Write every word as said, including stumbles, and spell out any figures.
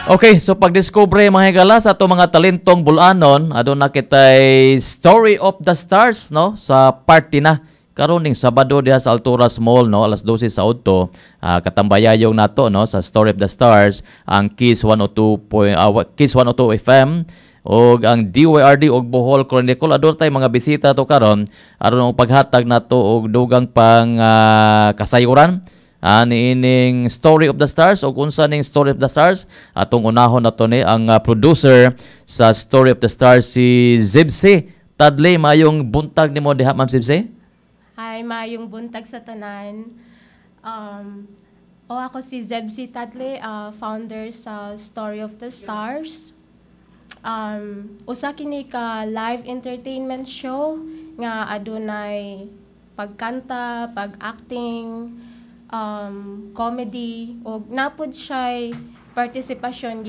Okay, so pagdiskubre mga higala sa ato mga talentong bulanon, aduna kitay Story of the Stars no sa party na karon ning Sabado diha sa Alturas Mall no alas dose sa udto uh, katambayayong nato no sa Story of the Stars ang Kiss one oh two point, uh, Kiss one oh two F M og ang D Y R D og Bohol Chronicle. Aduna tay mga bisita to karon aron og paghatag nato og dugang pang uh, kasayuran uh, niining Story of the Stars og unsa ning Story of the Stars. Atong unahon nato ni ang uh, producer sa Story of the Stars, si Zibsi Tadley. Mayong buntag nimo diha, Ma'am Zibsi. Hi, mayong buntag sa tanan. Um, o ako si Zebsi Tadley, uh, founder sa Story of the Stars. Um, usa kini ka live entertainment show nga adunay pagkanta, pag-acting, um, comedy ug napud siya'y partisipasyon.